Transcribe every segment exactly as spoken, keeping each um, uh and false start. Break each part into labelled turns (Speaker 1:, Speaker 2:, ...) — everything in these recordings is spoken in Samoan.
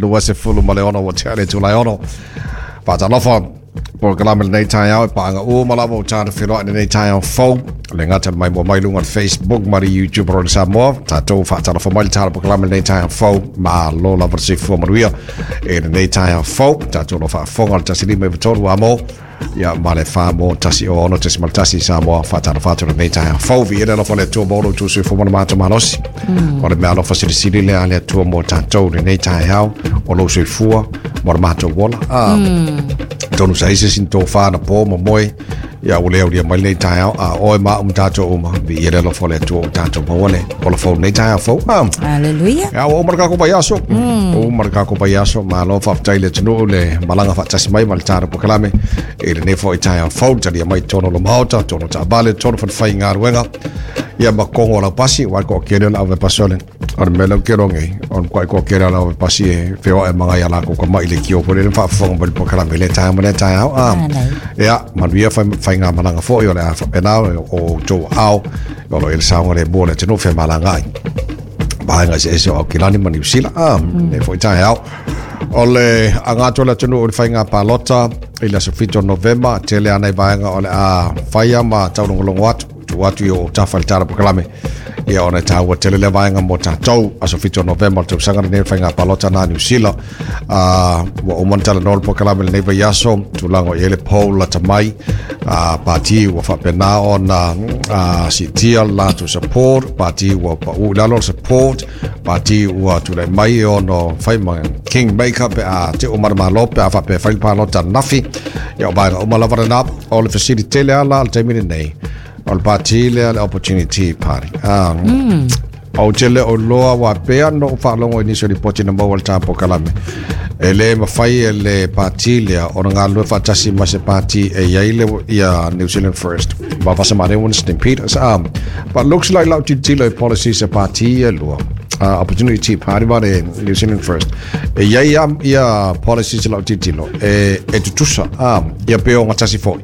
Speaker 1: Lua sefulu ma le ono ua tea le itulā e ono. Faatalofa polokalame lenei taeao e paaga uma lava ua tatou feloai lenei taeao fou. Le gata mai mua mai luga o le Facebook ma le YouTube o le Samoa. Tatou faatalofa mai le tala polokalame lenei taeao fou. Malo lava le soifua manuia e lenei taeao fou. Tatou lo faafofoga le tasi lima iva tolu amo. Ia ma le fa mo tasi o ono tasi ma tasi Samoa faatalofa atu lenei taeao fou. Viia le alofa o le Atua ma lo outou soifua ma le matou malosi. O le mea alofa silisili lea a le Atua mo tatou lenei taeao o lou soifua ma le matou ola. Ah, tonu sa ise sin tō whāna pō ma moe ia ua le aulia mai lenei taeao a oe ma au ma tatou uma viia le alofa o le Atua o tatou maua le ola fou lenei taeao fou. Ah,
Speaker 2: Hallelujah.
Speaker 1: Ia, ua uma le kako vaiaso. Ua uma le kako vaiaso. Malo faafetai le atunuu le malaga faatasi mai ma le tatou polokalame. I lenei foi taeao fou, talia mai totonu o le maota, totonu o taavale, totonu o falefaigaluega. Ia ma kogo o laupasi, ua toatele o le auvepasi o le o le mea lea ou te iloa nei, o le matuai toatele o le auvepasi e feoai ma nai a latou tamai leitio foi lele ma faafofoga mai le polokalame i lea taeao ma lea taeao. Ah, ia, manuia faigamalaga foi o le a faapena o outou aao o lo o i ai le saogalemu o le atunuu femalagaai vaega eseese o Aukilani ma Niu Sila. Ah, lenei foi taeao. O le aga atu o le atunuu i le faiga palota i le aso fitu o Novema, tele lava nai vaega o le a faia ma taulogologo atu, tuu atu i ou tafa i le tala polokalame. Ia ona e taua tele lea vaega mo tatou, aso fitu o Novema o le tausaga lenei o le faiga palota na Niu Sila. Uh, ua uma ona talanoa le polokalame lenei vaiaso, tulaga o i ai le poll lata mai, uh, pati ua faapena ona uh, siitia le latou support, pati ua pau i lalo le support, pati ua tulai mai e ono fai ma kingmaker pe a te uma le malo pe a faapea fai le palota ananafi. Ia o vaega uma lava lena, o le fesili tele ala le taimi lenei, o le pati lea le Opportunity Party. Um, Ou te le o iloa ua pea ona ou faalogo i nisi o lipoti na maua i le ta polokalame. E le mafai e le pati lea ona galulue faatasi ma se pati e i ai le ia New Zealand First. Ma vasa ma one Stampede. Um, but looks like lau tilotilo i policies a pati ia e lua. Uh, Opportunity Party ma le New Zealand First. E i ai ia policies lau tilotilo e, e tutusa. Um, ia pe ogatasi foi.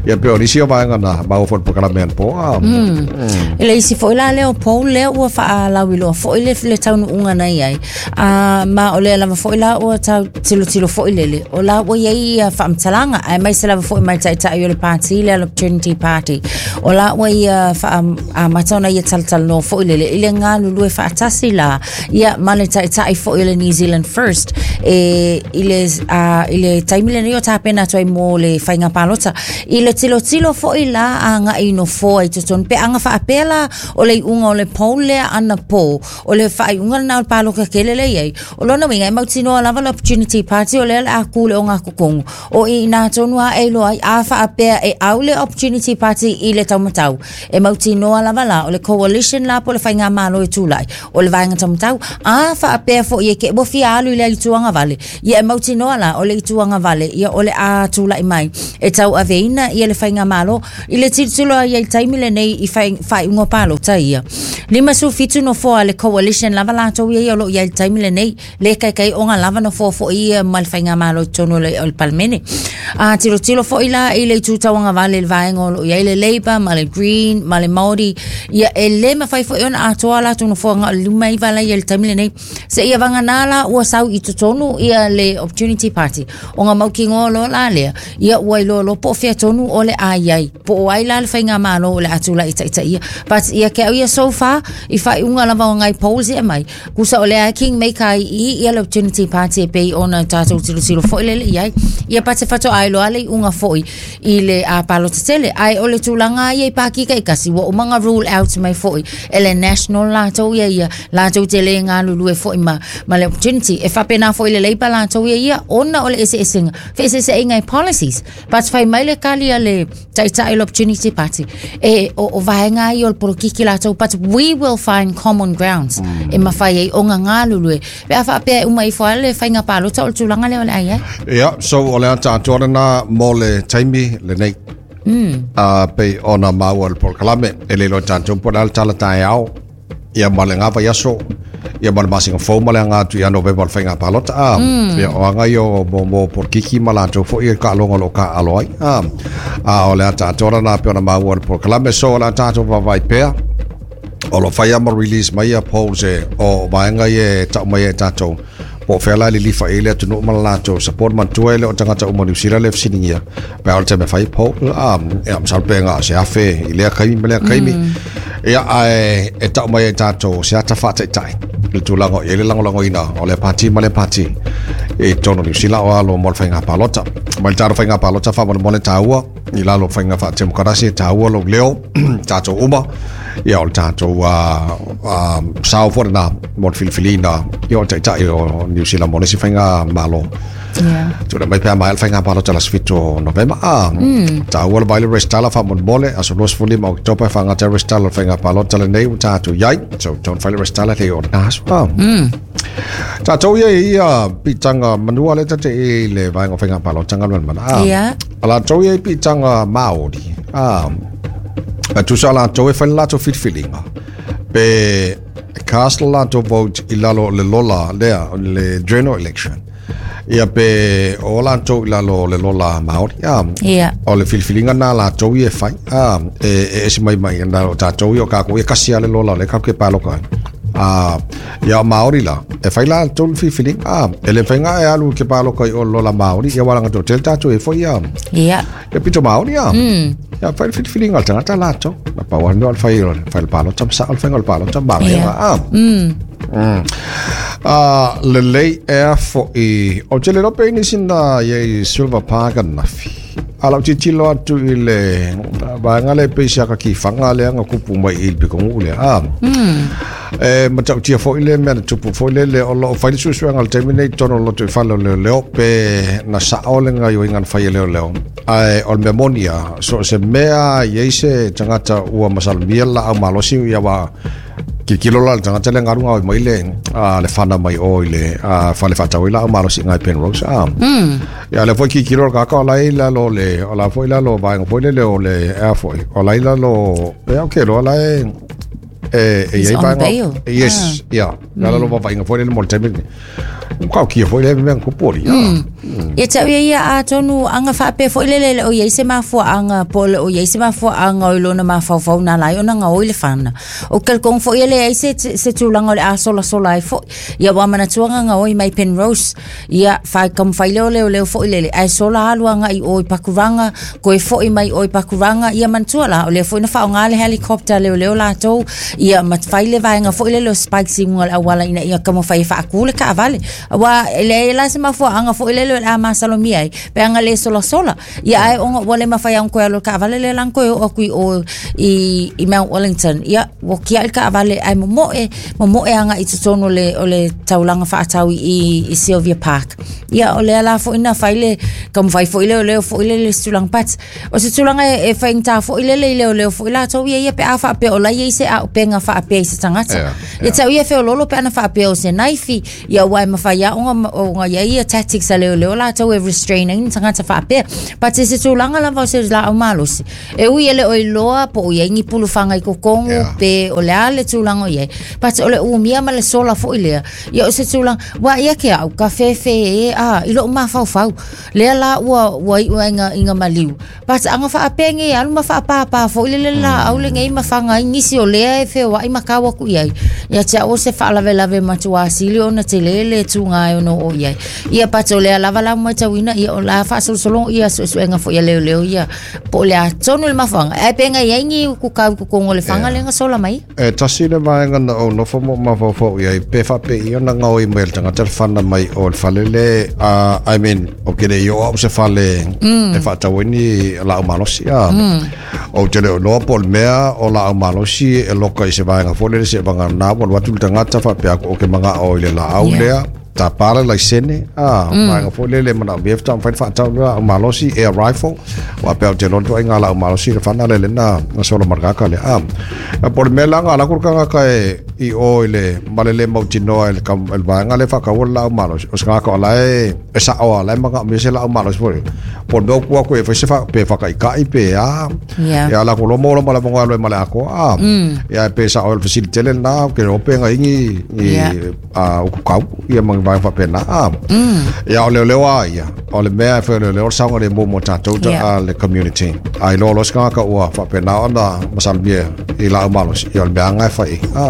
Speaker 1: Ia pe o nisi o vaega na maua foi i le polokalame anapo. Um,
Speaker 2: mm. I le isi foi la lea o poll lea ua faalauiloa foi le, le taunuuga na i ai. Uh, ma o lea lava foi la ua tau tilotilo foi lele. O la ua i ai ia faamatalaga, aemaise lava foi mai taitai o le pati lea le Opportunity Party. O la ua ia faaamata ona ia talatalanoa foi lele i le galulue faatasi la ia ma le taitai foi o le New Zealand First e, i le, uh, i le taimi lenei o tapena atu ai mo le faiga palota. I le tilotilo foi la agai i nofoa i totonu pe aga faapea la o le iuga o le poll lea anapo o le faaiuga lena o le paloka tele lea i ai. O lona uiga e mautinoa lava le Opportunity Party o lea o le a ku le ogatotogu o i ina tonu a e iloa ai a faapea e au le Opportunity Party i le taumatau. E mautinoa lava la o le coalition la po o le faigamalo e tulai o le vaega taumatau a faapea foi e ke ua fia alu i le itu agavale. Ia e mautinoa la o le itu agavale ia o le a tulai mai e tauaveina ia le faigamalo i le tilotilo ai i le taimi lenei i faaiuga o palota ia. Lima sefulu fitu nofoa le coalition lava latou ia ia o lo o i ai i le taimi lenei le kaikai ona lava nofoa foi ia ma le faigamalo i totonu o le, o le Palemene. A tilotilo foi la i le itu tauagavale i le vaega o lo o i ai le Labour ma le Green ma le Māori ia e le mafai foi ona atoa latou nofoa na o le lima iva la ia i le taimi lenei. Seia vagana la ua sau i totonu ia le Opportunity Party ona mautinoa loa la lea ia ua iloa loa po o fea tonu o le a i ai po o ai la le faigamalo o le a tulai i taitaia. But ia ke au ia so far i faaiuga lava o nai polls e aumai tusa o lea kingmaker ai i ia le Opportunity Party e pei ona tatou tilotilo foi lele i ai. Ia but e faatoa iloa le iuga foi i le a palota tele. Ae o le tulaga ia i pāti taitasi ua uma ona rule out mai foi e le National latou ia ia latou te le galulue foi ma, ma le Opportunity. E faapena foi le Labour latou ia ia ona o le eseesega feeseeseaiga i policies. But fai mai le kali a le taitai o le Opportunity Party e o, o vaega ia o le polokiki latou but we will find common grounds mm. e mafai ai ona galulue pe a faapea e uma ifo lava le faiga palota o le tulaga lea o le a i ai.
Speaker 1: Ia, so o le ata atoa lena mo le taimi lenei. Mm. Uh, pei ona maua le polokalame e le iloa tatou po o le a le tala taeao ia ma le gava aso ia ma le masina fou ma le aga atu ia Novema o le faiga palota. Ah, mm. Ia o aga ia o mo mo polokiki ma latou foi e kaaloga o lo o kaalo ai. Ah, a o le ata atoa lena pei ona maua le polokalame so o le a tatou vaavaai pea o lo o fai lava ma release mai ia polls e o vaega ia e tau mai ai e tatou Po fela le lifa ile atu ma lato support man tua ile o tangata uma New Zealand le fsiningia pe o te me fai po a e am salpenga se afe ile kai me le kai mi ia ai e tau mai e tatou se ata faataitai le tulaga i le lagolagoina o le pati ma le pati e tonu New Zealand o alo mo le faiga palota ma le tatou faiga palota faamolemole taua i lalo faiga faatemokarasi e taua lou leo tatou uma ia o le tatou sao foi lena mo le filifiliina ia o le taitai o New Zealand mo le isi faiga malo. Tula mai pea mai le faiga palota la sefito Novema a taua le vaile resitala faamolemole aso luasefulima o Oketopa e faagata resitala o le faiga palota lenei ua tatou iai so tonu fai le resitala le o lena aso a tatou ia ia piitaga manua le tate i le vaega o faiga palota galuega mana a o latou ia i piitaga Māori a a tusa latou e fai le latou filifiliga pe cast le latou vote i lalo o le lola lea o le general election ia pe o latou i lalo o le lola Māori a o le filifiliga na latou ia e fai a e ese mai mai na o tatou ia o kākou ia kasi a le lola o le kākou ke paloka a ia o Māori la e fai latou le filifiliga a e le faiga e alu ke paloka i o lola Māori ia walaga tō tele tatou e foi ia
Speaker 2: ia
Speaker 1: ia pito Māori a ia fai le filifiliga o le tagata latou na pau le mea o le fai o le fai le palota ma sao le faiga o le palota ma vaega a a lelei ea fo'i o te le lope nisi na iai Silver Park anafi a lau tilotilo atu i le vaega le pei se aka kifaga lea na kupu mai i le pikogu'u lea a e matautia fo'i le mea na tupu fo'i lele o loo fai le suesuega o le taimi nei totonu o loto i fale o leoleo pe na sa'o le gaioiga na fai e leoleo ae o le mea moni a so o se mea iai se tagata ua masalomia le laau malosi ia ua kilokilo la le tagata le galuga oi mai le le fana mai o i le fale faatau ai laau malosi iga i Penrose a ia le foi kilokilo le kaka o lai lalo le o la foi lalo vaega foi lele o le ea foi o lai lalo e au ke loa la e e e iai vaega yes ia lalo lo vavaaiga foi lele mo le taimi kau kia foi le mea kupu oli
Speaker 2: ia tau ia ia atonu anga faapea foi lele le o iai se mafuaanga po le o iai se mafuaanga o i lona mafaufau na lai ona gaoi le fana o kelkong foi ele ai se se tulaga o le asolasola ai foi ia ua manatuaga gaoi mai Penrose ia fai kamafai leo leo leo foi lele ae sola alu agaʻi o i Pakuranga koe foʻi mai o i Pakuranga ia manatua la o lea foi na faaaogā le helicopter leoleo latou ia ma fai le vaega foi lele o spikes i luga o le auala ina ia taumafai e faakū le kaavale ua le la se mafuaanga foi lele o le a masalomia ai pe aga le solasola ia ae ona ua le mafai ona koe alo kaavale le lan koe oo aku i o i i Mount Wellington ia ua kiaʻi le kaavale ae momoe momoe agaʻi i totonu o le o le taulaga faatau i i Sylvia Park ia o lea la foi na fai le taumafai foi leo leo foi lele se tulaga but o se tulaga e faigata foi lele i leoleo foi latou ia ia pe a faapea o lai ai se auupega faapea i se tagata ia tau ia feololo pe ana faapea o se naifi ia ua e mafai aoga ona ia ia tactics a leoleo latou e restrain ai ni tagata faapea but se tulaga lava o se laau malosi e ui e le o iloa po o iai ni pulufaga i kokogo pe o le a le tulaga o iai but o le umia ma le sola foi lea ia o se tulaga ua ia ke au ka fefe e a i lou mafaufau lea la ua ua iu ai iga iga maliu but aga faapea ge alu ma faapāpā foi lele laau lenei ma faga ai nisi o lea e feoaʻi ma kau aku iai ia te au o se faalavelave matuā sili ona tele le tuga e ono o iai ia but o lea lava la matauina ia o la faasolosologa ia suesuega foi ia leoleo ia po o le atonu le mafuaga ae pe gai ai ni kukau kokogo o le faga lea na sola mai
Speaker 1: e tasi le vaega na ou nofo mo mafaufau iai pe faapei ona gaoi mai e le tagata le fana mai o le fale le uh, I mean o ke le i o au se fale e faatau ai ni laau malosi a ou te le o loa po o le mea o laau malosi e loka i se vaega foi lele se vagana ua alu atu le tagata faapea aku o ke magao i le laau lea tapā le laisene a vaega foi lele manaomia faatoa mafai ona faatau le laau malosi air rifle faapea ou te iloa le ituaiga laau malosi le fana lea lena na sola ma le kaka lea a po o le mea la aga alaku le tagata e i o i le ma le lē mautinoa i le vaega lea faataua le laau malosi o se tagata o la e e saʻo a la e manaomia se laau malosi foi po o le mea o ku atu e fai se pe faakaʻikaʻi pe a ia lakou loa maua loa ma le avanoa e alu ai ma le atoa a ia pe saʻo i le fesili tele lena ke iloa pe gaigi i ukukau ia ma ni vaega faapena a ia o leoleo a ia o le mea e fai o leoleo le saogalemu mo tatou le community a iloa loa se tagata ua faapena ona masalomia i laau malosi ia o le mea aga e fai a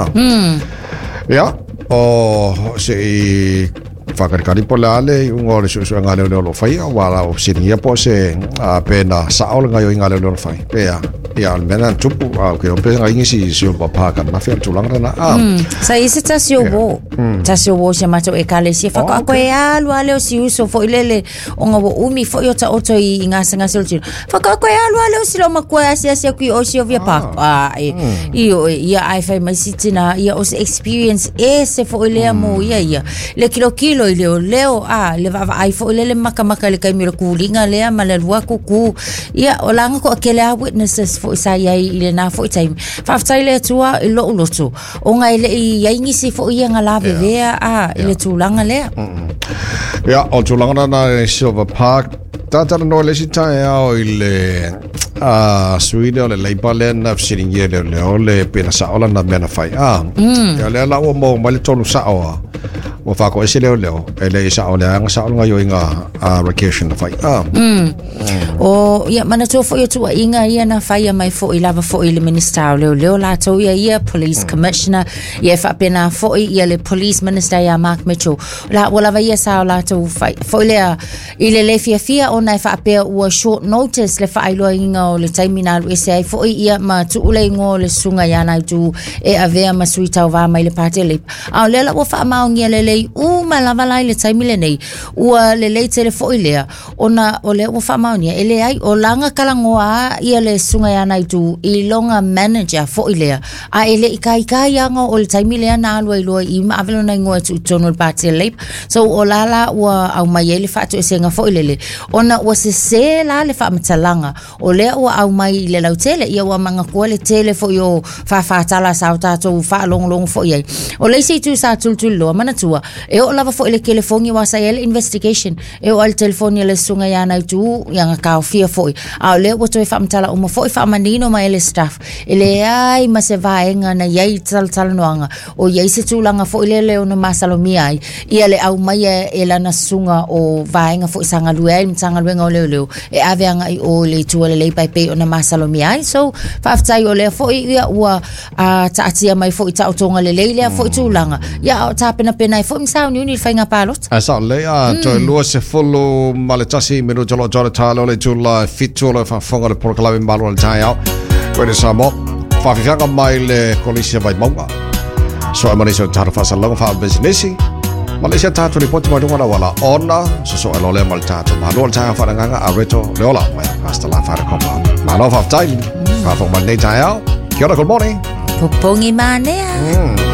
Speaker 1: ia o se i Whakarekari po le ale unga o le suesue ngā leo leo lo whai wa la o siringia po se a pena sa o le ngai o ngā leo leo lo whai pea ia al mena tupu a ke o pesa ngai si si o papa ka na fia tulanga na a
Speaker 2: sa isi tasi o wo tasi o wo se mato e kale si fa ko e alu ale o si uso fo ilele o nga wo umi fo yo ta oto i ngā sanga se tiro fa ko e alu ale o si lo makua asi asi ku o si o via pa a e i o ia ai fai mai sitina ia o se experience e se fo ile mo ia ia le kilo kilo i leo leo a le va ai fo ile le maka maka le kai mi le kulinga lea ma le lua kuku ia o langa ko akele a witnesses fo sa ia i le na fo time fa fai le tua i lo loto o ngai le i ai ngisi fo ia nga la vea a i le tulanga lea
Speaker 1: ia o tulanga na Silver Park tata no le sita o i le a suile o le leipa le na siringia le le o le pena sa ola na mena fai a ia le la o mo mai le tonu sa o o fa ko ese leo leo e le sa o le anga sa o nga yo inga a vacation na fai a
Speaker 2: o ia mana to fo tua inga ia na fai mai fo i lava fo i le minister leo leo la to ia ia police commissioner ia fa pena fo ia le police minister ia Mark Mitchell la wala va ia sa la to fai fo le i le le fia fia o na fa pe ua short notice le fa ilo inga o le taimi na ese ai fo ia ma tu le ngo le sunga ia na tu e avea ma sui tau va mai le patele a le la ua fa maongia le le u ma lava lai le taimi le nei ua le le tele foi lea ona o le ua fa maonia ele ai o langa kalangoa ia le sunga ia na tu i longa manager foi lea a ele i kai kai anga o le taimi lea na alua i loa i ma avelo na ingoa tu tono le patele so o lala ua au mai ele fa tu senga foi lele ona ua se se la le fa matalanga o lea ua au mai le lautele ia ua manga koa le tele foi o fa fa tala sa o tatou fa long long foi ai o le se tu sa tul tul loa mana tua e o lava foi le telefongi wa sa ele investigation e o al telefoni le sunga ia na tu ia nga ka fia foi a o le ua toe fa matala uma foi fa manino ma ele staff ele ai ma se vaenga na iai tal tal noanga o iai se tulaga foi le le ona masalomia ai ia le au mai e lana sunga o vaenga foi sanga lue ai mtanga luenga o leo leo e ave anga i o le tua le pai pe ona masalomia ai so faafetai o le foi ia ua a taatia mai foi ta otonga le leile foi tulaga ia o tapena pena foi msau ni ni fainga palot
Speaker 1: a sa le a to lua se folo maletasi minuto lo jora talo le tula fitu le fa fonga le porkalawe malo le tai ko le samo fa fianga mai le kolisi vai monga so amani so taro fa sa longa fa business Malaysia tato ni poti mai lunga wala ona so so alole mal tato malo le fa nganga a reto le ola mai pasta la fa kopa malo fa tai fa fo mai nei tai. Kia ora, good morning.
Speaker 2: Popongi manea.